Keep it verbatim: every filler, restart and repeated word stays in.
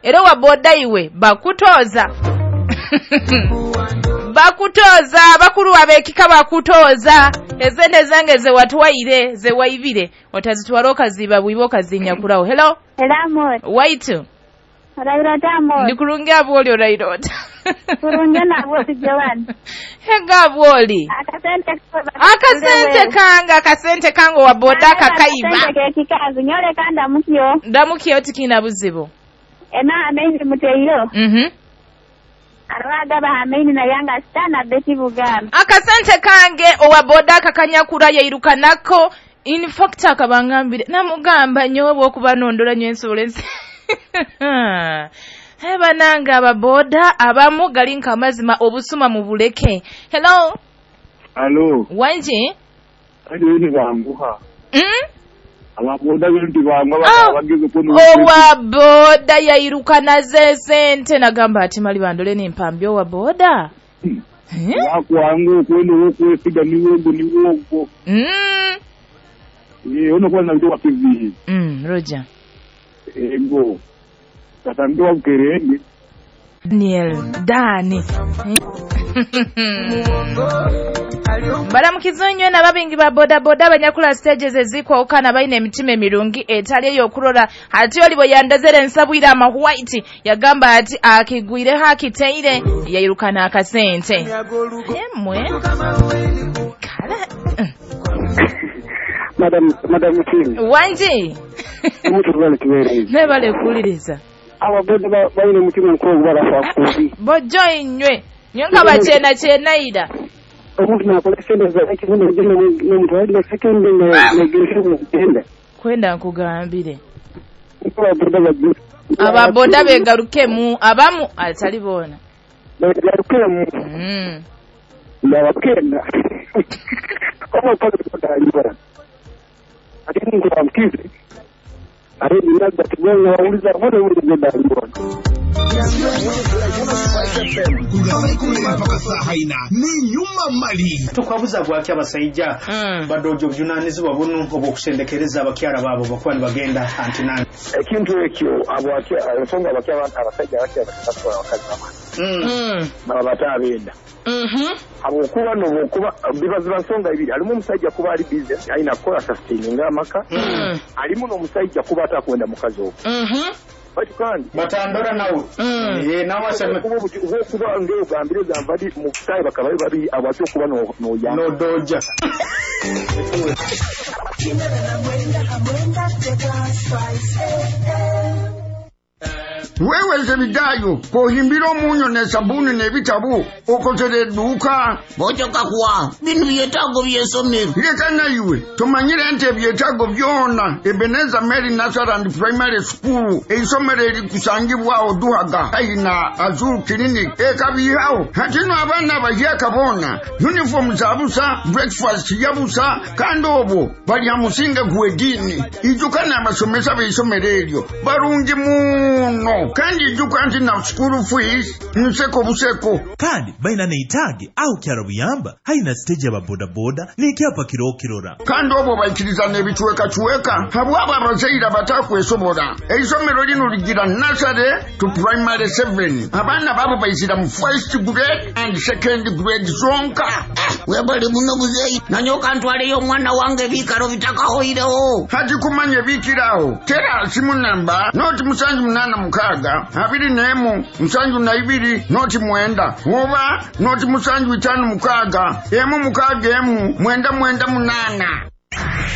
Era owa boda iwe bakutoza. Bakutoza abakulu abekika bakutoza. Ezende zange ze watwaire ze waibire otazitwara okaziba bwibo okazinyakuraho. Hello. Hello. Waitu. Rairota mo. Ndikurungi abwoli orairota. Kurungi na abwoli Joan. Hega abwoli. Akasente akasente kanga akasente kango wa boda kakaiba. Akasente kikazi nyole kanda mukyo. Ndamukyo tikina buzibu. Ena amenyi muteyo. Mhm. Arwaga bahamenyi na Yanga stana Betty Buganda. Akasente kange owa boda kakanyakura yairuka nako. In fact akabangambire namugamba nyowe bwokuba nondola nyo insurance. Heba nanga ababoda abamu galinka amazima obusuma mu buleke. Hello. Hello. Wanji? Ani ni banguha. Mm? Ababoda bintu bangwa bageze kuno. Owa boda yairuka naze sente nagamba ati mali bandole ni mpambyo owa boda. Hmm. Wakwangu kwenu okwesiga ni wongo ni wongo. Mm. Eh ono kwa na kivi. Mm, Roger. Ego. Katambiwa mkerenge. Daniel, Dani. Balamukizo nnyo n'ababingi ba boda boda abanyakula stages ezikwawukana balina emitima emirungi etali ey'okurora. Ati oli bwe yandazera ensabwire ama white yagamba ati akigwireho akiteire yairukana akasente. Emwe. Kale. Madam, Madam Kim. Wanji. Nebale kuwuliriza. Ababoda balina omutima omukulu balafa kubi. Bojjo inywe. Nyonka bachena chenaida. Omuntu nakola sente za ekibuno n'omutwalira sekende negeresha kugenda. Kwenda nkugambire. Ababoda Ababoda begarukemu abamu atali bona. Begarukemu. Mm. Ndabakenda. Omo pale kutaliwa. Ate nkuramkize. Ari ninaga tubonye wauliza mbona uli ndaliwa. Mpaka saa haina ni nyuma mali tukwabuza gwaki abasajja mm. badojo obuvunanyizibwa buno obw'okusendekereza abakyala baabo bakuba nibagenda antinani ekintu ekyo ensonga abasajja abakyala batwala abakazi bamwe baba bataabenda habwokuba nobwokuba biba nsonga ibiri alimu omusajja kuba ali busy alina kukola sustaininga amaka alimu n'omusajja kuba atakwenda mukazi ogwo bati kandi batandora nawe eh nawe asema kuba kuba ngeo gambire zamvadi mu kutayi bakaba babi abacho kuba no no ya no doja Wewe Zebidayo kohimbira omunyo ne sabuni n'ebitabo okozere edduuka bojoka kuwa bino byetaago by'essomero leka naiwe tumanyire nti ebyetaago byona Ebenezer Mary Nursery and Primary School eisomero erikusangibwawo Duhaga aina Azul Clinic ekabihawo hatino abaana abahyaka boona uniform za busa breakfast ya busa kandi obwo balya musinga gw'eddiini ijuka n'abasomesa b'eisomero eryo barungi muno kandi ijuka nti na school fees nseko buseko kandi balina neitaage aho kyalo buyamba haina stage ababodaboda n'ekyapa kirokirora kandi obwo baikiriza n'ebicuwekacuweka habwabo abazaire abatakwesobola eisomero lino ligira nursery to primary seven abaana babo baizira mu first grade and second grade zonka webali muno muzeeyi nanyoka ntwaleyo omwana wange ebiikalo bitakahoirewo hati kumanya ebiikirawo tera simu namba noti musanju munana mukaaga abiri n'emu musanju na ibiri noti mwenda oba noti musanju itaano mukaaga emu mukaaga emu mwenda mwenda munana.